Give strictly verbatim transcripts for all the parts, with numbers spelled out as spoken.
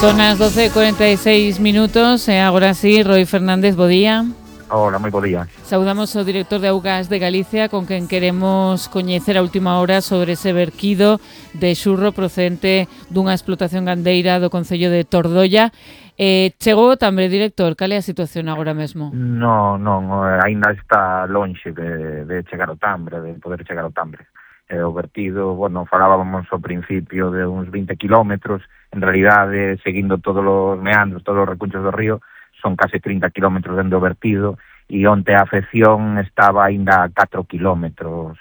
Son as doce e cuarenta e seis minutos e agora sí, Roi Fernández, bo día. Hola, moi bo día. Saudamos ao director de Augas de Galicia, con quen queremos coñecer a última hora sobre ese verquido de xurro procedente dunha explotación gandeira do concello de Tordolla. Eh, chegou o tambre, director, cal é a situación agora mesmo? Non, non, aínda está lonxe de, de chegar ao tambre, de poder chegar ao tambre. Eh, o vertido, bueno, falábamos ao principio de uns vinte kilómetros, en realidade, seguindo todos os meandros, todos os recunchos do río, son case trinta kilómetros dende o vertido, e onte a afección estaba aínda a catro kilómetros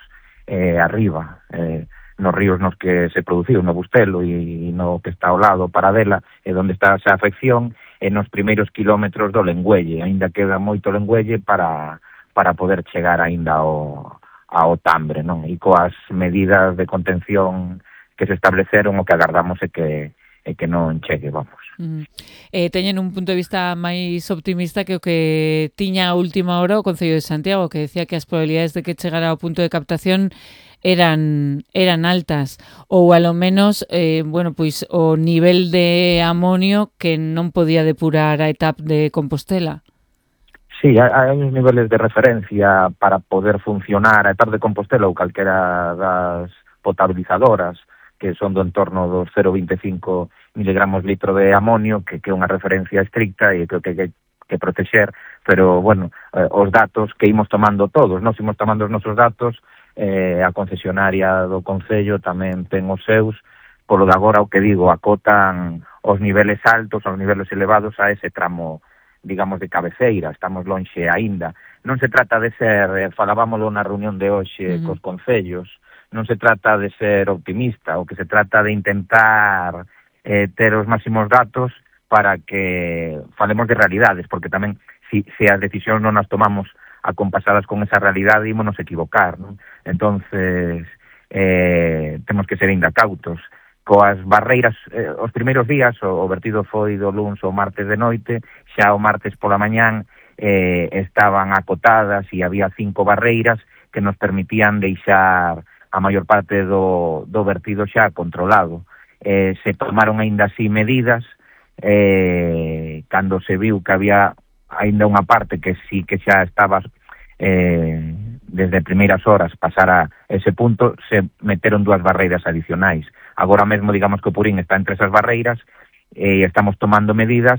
eh, arriba, eh, nos ríos nos que se produciu, no Bustelo e no que está ao lado, Paradela, e onde está esa afección, e nos primeiros kilómetros do Lengüelle. Aínda queda moito Lengüelle para, para poder chegar aínda ao, ao tambre, non? E coas medidas de contención que se estableceron, o que agardamos é que, é que non chegue, vamos. Mm. Eh, teñen un punto de vista máis optimista que o que tiña a última hora o Concello de Santiago, que decía que as probabilidades de que chegara ao punto de captación eran eran altas, ou alo menos, eh, bueno, pois o nivel de amonio que non podía depurar a etapa de Compostela. Sí, hai uns niveles de referencia para poder funcionar a etapa de Compostela ou calquera das potabilizadoras, que son do entorno dos cero vinte e cinco miligramos litro de amonio, que, que é unha referencia estricta e que que que protexer, pero, bueno, eh, os datos que imos tomando todos, nós imos tomando os nosos datos, eh, a concesionaria do Concello tamén ten os seus, polo de agora, o que digo, acotan os niveles altos, os niveles elevados a ese tramo, digamos, de cabeceira, estamos lonxe aínda. Non se trata de ser, eh, falábamoslo na reunión de hoxe, uh-huh, cos concellos, non se trata de ser optimista, o que se trata de intentar eh, ter os máximos datos para que falemos de realidades, porque tamén, se si, si as decisións non as tomamos acompasadas con esa realidade, ímonos equivocar, non? Entonces, eh, temos que ser ainda cautos. Coas barreiras, eh, os primeiros días, o, o vertido foi do luns ao martes de noite, xa o martes pola mañán eh, estaban acotadas e había cinco barreiras que nos permitían deixar a maior parte do, do vertido xa controlado. Eh, se tomaron aínda así medidas, eh, cando se viu que había aínda unha parte que sí que xa estaba eh, desde primeiras horas pasar a ese punto, se meteron dúas barreiras adicionais. Agora mesmo, digamos que o Purín está entre esas barreiras e eh, estamos tomando medidas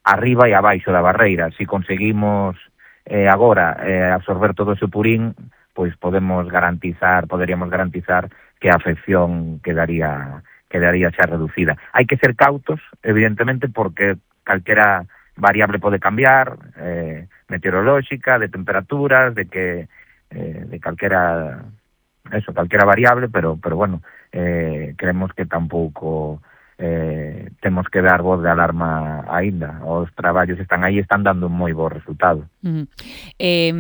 arriba e abaixo da barreira. Si conseguimos eh, agora eh, absorber todo ese Purín, pois podemos garantizar, poderíamos garantizar que a afección quedaría quedaría xa reducida. Hai que ser cautos, evidentemente, porque calquera variable pode cambiar, eh, meteorolóxica, de temperaturas, de que eh, de calquera eso, calquera variable, pero pero bueno, eh, creemos que tampouco eh, temos que dar voz de alarma aínda. Os traballos están aí, están dando un moi bo resultado. Uh-huh. Eh,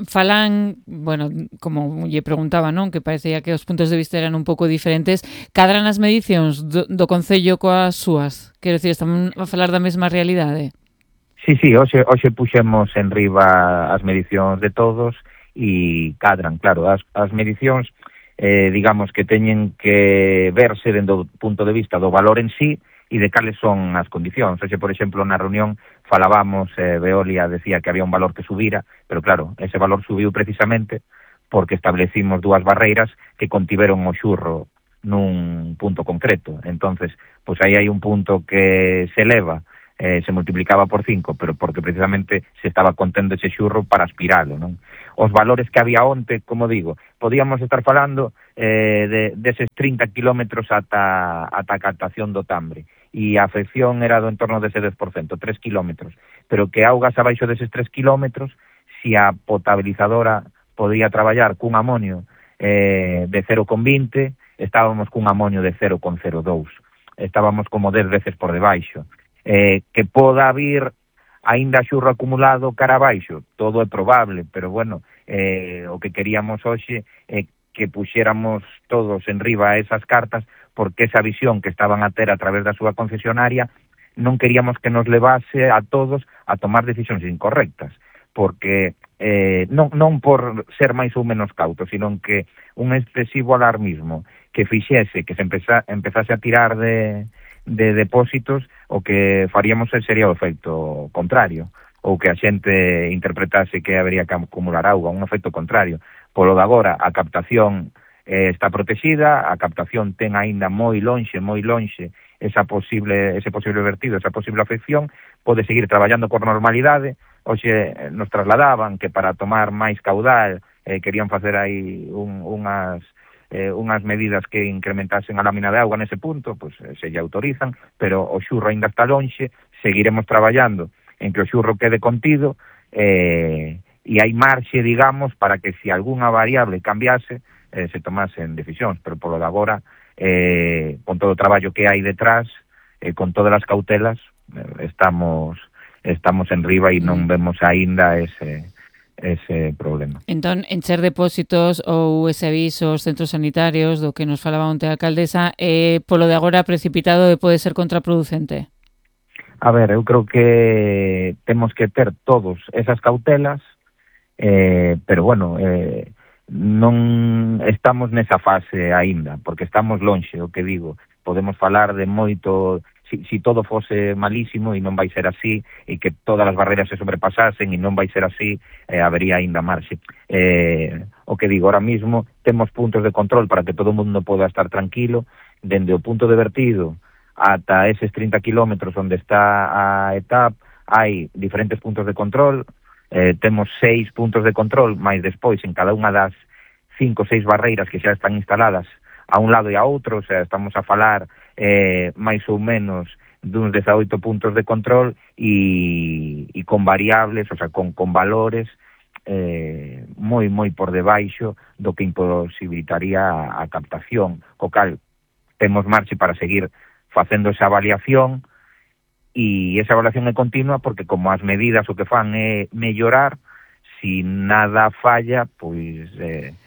falan, bueno, como lle preguntaba, non, que parecía que os puntos de vista eran un pouco diferentes, cadran as medicións do, do Concello coas súas? Quero dicir, estamos a falar da mesma realidade? Sí, sí, hoxe, hoxe puxemos en riba as medicións de todos e cadran, claro, as, as medicións eh, digamos que teñen que verse dentro do punto de vista do valor en sí e de cales son as condicións. Oxe, por exemplo, na reunión falábamos, eh, Veolia decía que había un valor que subira, pero claro, ese valor subiu precisamente porque establecimos dúas barreiras que contiveron o xurro nun punto concreto. Entonces, pois aí hai un punto que se eleva, eh, se multiplicaba por cinco, pero porque precisamente se estaba contendo ese xurro para aspiralo, non? Os valores que había onte, como digo, podíamos estar falando eh, de, deses trinta kilómetros ata, ata a captación do tambre, e a afección era do entorno dese dez por cento, tres kilómetros, pero que augas abaixo deses tres kilómetros, si a potabilizadora podía traballar cun amonio eh, de cero coma vinte, estábamos cun amonio de cero coma cero dous, estábamos como dez veces por debaixo. Eh, que poda vir aínda xurro acumulado cara abaixo, todo é probable, pero bueno, eh, o que queríamos hoxe é que puxéramos todos en riba esas cartas, porque esa visión que estaban a ter a través da súa concesionaria non queríamos que nos levase a todos a tomar decisións incorrectas, porque eh, non, non por ser máis ou menos cautos, sino que un excesivo alarmismo que fixese que se empeza, empezase a tirar de de depósitos, o que faríamos sería o efecto contrario, ou que a xente interpretase que habería que acumular auga, un efecto contrario. Polo de agora, a captación eh, está protegida, a captación ten aínda moi lonxe, moi lonxe esa posible, ese posible vertido, esa posible afección, pode seguir traballando con normalidade. Hoxe nos trasladaban que para tomar máis caudal eh, querían facer aí un, unhas eh, unhas medidas que incrementasen a lámina de auga nese punto, pois pues, eh, se lle autorizan, pero o xurro aínda está lonxe, seguiremos traballando en que o xurro quede contido, eh, e hai marxe, digamos, para que se algunha variable cambiase, eh, se tomasen decisións, pero polo de agora, eh, con todo o traballo que hai detrás, eh, con todas as cautelas, eh, estamos estamos en riba e non vemos aínda ese ese problema. Entón, encher depósitos ou ese aviso aos centros sanitarios do que nos falaba onte a alcaldesa, eh, polo de agora precipitado e pode ser contraproducente? A ver, eu creo que temos que ter todos esas cautelas, eh, pero bueno, eh, non estamos nesa fase aínda, porque estamos lonxe, o que digo, podemos falar de moito, si, si todo fose malísimo e non vai ser así, e que todas as barreras se sobrepasasen e non vai ser así, eh, habería aínda marxe. Eh, o que digo, ahora mismo temos puntos de control para que todo o mundo poda estar tranquilo, dende o punto de vertido ata eses trinta kilómetros onde está a etapa, hai diferentes puntos de control, eh, temos seis puntos de control, máis despois en cada unha das cinco ou seis barreiras que xa están instaladas a un lado e a outro, o sea, estamos a falar eh, máis ou menos duns dezaoito puntos de control e, e con variables, o sea, con, con valores eh, moi, moi por debaixo do que imposibilitaría a, a captación, co cal temos marxe para seguir facendo esa avaliación, e esa avaliación é continua porque como as medidas o que fan é mellorar, si nada falla, pois eh,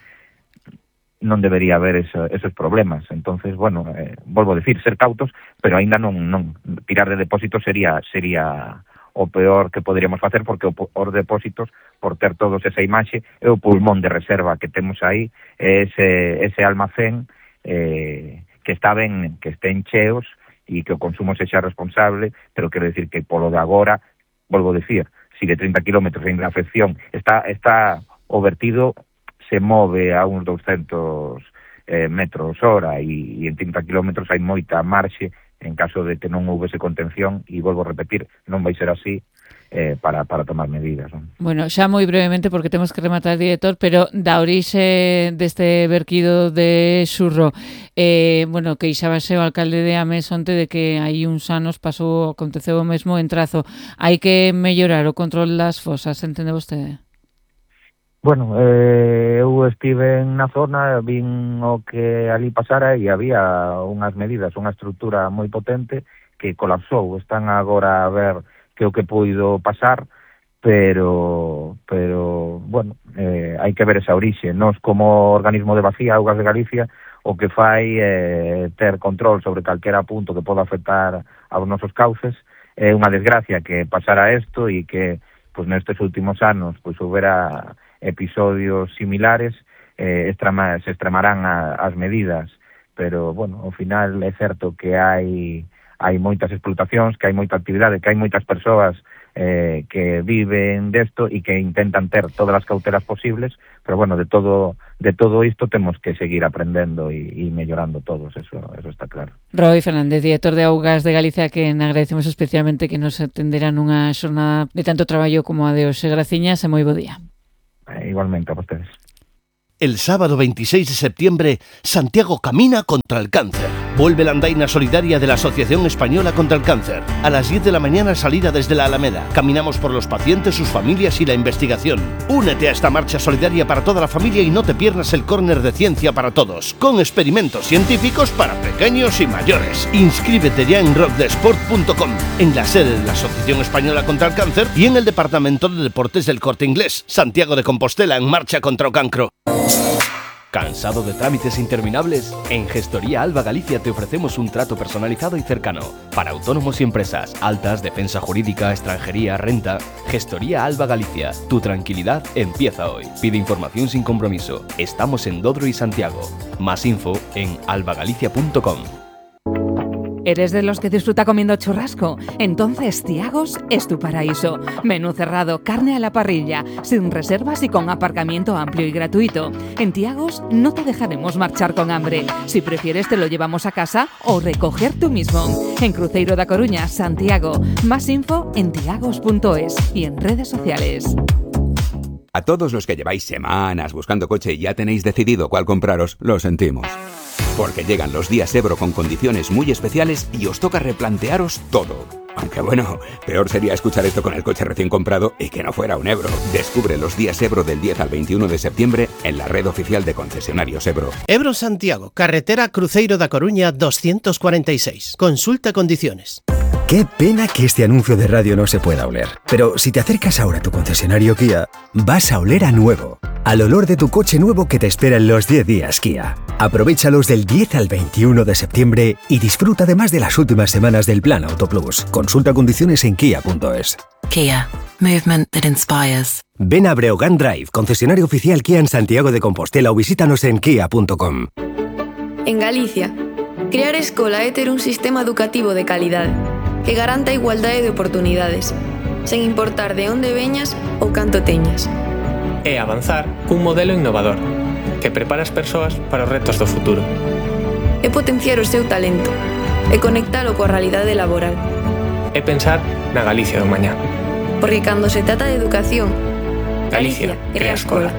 non debería haber eso, esos problemas. Entonces, bueno, eh, volvo a decir, ser cautos, pero aínda non, non tirar de depósitos sería sería o peor que poderíamos facer, porque os depósitos, por ter todos esa imaxe, é o pulmón de reserva que temos aí, ese, ese almacén eh, que está ben, que estén cheos e que o consumo sexa responsable, pero quero decir que polo de agora, volvo a decir, si de trinta kilómetros en afección está, está o vertido se move a uns douscentos eh, metros hora e, e en trinta kilómetros hai moita marxe en caso de que non houvese contención, e volvo a repetir, non vai ser así, eh, para, para tomar medidas. Non? Bueno, xa moi brevemente, porque temos que rematar, director, pero da orixe deste verquido de xurro, eh, bueno, queixábase o alcalde de Ames onte de que hai uns anos pasou, aconteceu o mesmo en Trazo. Hai que mellorar o control das fosas, entende vostede? Bueno, eh, eu estive na zona, vin o que ali pasara e había unhas medidas, unha estrutura moi potente que colapsou. Están agora a ver que o que puido pasar, pero, pero bueno, eh, hai que ver esa orixe. Nos, como organismo de vacía, Augas de Galicia, o que fai é eh, ter control sobre calquera punto que poda afectar aos nosos cauces. É unha desgracia que pasara isto e que pues, nestes últimos anos pues, houbera episodios similares, eh, extrema, se extremarán a, as medidas, pero, bueno, ao final é certo que hai hai moitas explotacións, que hai moita actividade, que hai moitas persoas eh, que viven desto e que intentan ter todas as cautelas posibles, pero, bueno, de todo de todo isto temos que seguir aprendendo e, e mellorando todos, eso, eso está claro. Roi Fernández, director de Augas de Galicia, que agradecemos especialmente que nos atenderán nunha xornada de tanto traballo como a de hoxe. Graciñas e moi bo día. Eh, igualmente a vostedes. El sábado veintiséis de septiembre, Santiago camina contra el cáncer. Vuelve la andaina solidaria de la Asociación Española contra el Cáncer. A las diez de la mañana, salida desde la Alameda. Caminamos por los pacientes, sus familias y la investigación. Únete a esta marcha solidaria para toda la familia y no te pierdas el córner de Ciencia para Todos, con experimentos científicos para pequeños y mayores. Inscríbete ya en rock de sport punto com, en la sede de la Asociación Española contra el Cáncer y en el Departamento de Deportes del Corte Inglés. Santiago de Compostela, en marcha contra o cancro. ¿Cansado de trámites interminables? En Gestoría Alba Galicia te ofrecemos un trato personalizado y cercano para autónomos y empresas, altas, defensa jurídica, extranjería, renta. Gestoría Alba Galicia, tu tranquilidad empieza hoy. Pide información sin compromiso. Estamos en Dodro y Santiago. Más info en albagalicia punto com. ¿Eres de los que disfruta comiendo churrasco? Entonces Tiagos es tu paraíso. Menú cerrado, carne a la parrilla, sin reservas y con aparcamiento amplio y gratuito. En Tiagos no te dejaremos marchar con hambre. Si prefieres te lo llevamos a casa o recoger tú mismo. En Cruzeiro da Coruña, Santiago. Más info en tiagos punto es y en redes sociales. A todos los que lleváis semanas buscando coche y ya tenéis decidido cuál compraros, lo sentimos. Porque llegan los días Ebro con condiciones muy especiales y os toca replantearos todo. Aunque bueno, peor sería escuchar esto con el coche recién comprado y que no fuera un Ebro. Descubre los días Ebro del diez al veintiuno de septiembre en la red oficial de concesionarios Ebro. Ebro Santiago, carretera Cruzeiro da Coruña doscientos cuarenta y seis. Consulta condiciones. Qué pena que este anuncio de radio no se pueda oler. Pero si te acercas ahora a tu concesionario Kia, vas a oler a nuevo. Al olor de tu coche nuevo que te espera en los diez días Kia. Aprovéchalos del diez al veintiuno de septiembre y disfruta además de las últimas semanas del Plan Auto Plus. Consulta condiciones en kia punto es. Kia. Movement that inspires. Ven a Breogán Drive, concesionario oficial Kia en Santiago de Compostela, o visítanos en kia punto com. En Galicia, crear escola é ter un sistema educativo de calidade que garanta a igualdade de oportunidades, sen importar de onde veñas ou canto teñas. É avanzar cun modelo innovador que prepara as persoas para os retos do futuro. É potenciar o seu talento e conectalo coa realidade laboral. É pensar na Galicia do mañá. Porque cando se trata de educación, Galicia crea escola.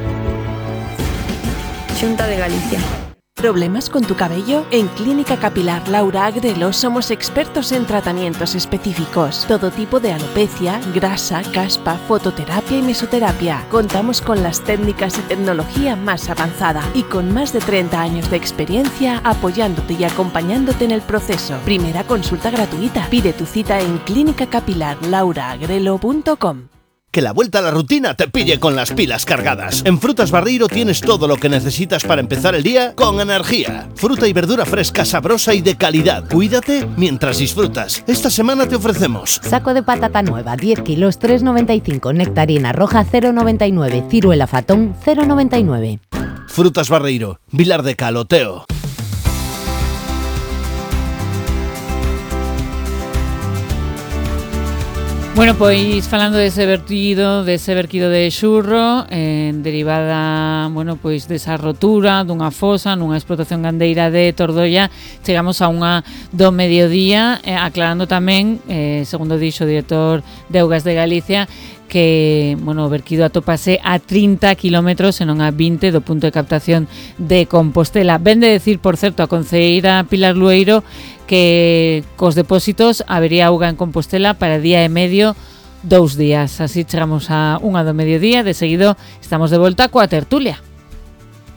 Xunta de Galicia. ¿Problemas con tu cabello? En Clínica Capilar Laura Agrelo somos expertos en tratamientos específicos. Todo tipo de alopecia, grasa, caspa, fototerapia y mesoterapia. Contamos con las técnicas y tecnología más avanzada y con más de treinta años de experiencia apoyándote y acompañándote en el proceso. Primera consulta gratuita. Pide tu cita en clínica capilar laura agrelo punto com. Que la vuelta a la rutina te pille con las pilas cargadas. En Frutas Barreiro tienes todo lo que necesitas para empezar el día con energía. Fruta y verdura fresca, sabrosa y de calidad. Cuídate mientras disfrutas. Esta semana te ofrecemos saco de patata nueva, diez kilos, tres noventa y cinco. Nectarina roja, cero noventa y nueve. Ciruela fatón, cero noventa y nueve. Frutas Barreiro, Vilar de Caloteo. Bueno, pois falando dese vertido, dese vertido de xurro, eh, derivada, bueno, pois desa rotura dunha fosa nunha explotación gandeira de Tordoia, chegamos a unha do mediodía, eh, aclarando tamén, eh, segundo dixo o director de Augas de Galicia, que, bueno, o vertido atópase a trinta kilómetros e non a vinte do punto de captación de Compostela. Ven de decir, por certo, a concelleira Pilar Lueiro que cos depósitos habería auga en Compostela para día e medio, dous días. Así chegamos a unha do mediodía, de seguido estamos de volta coa tertulia.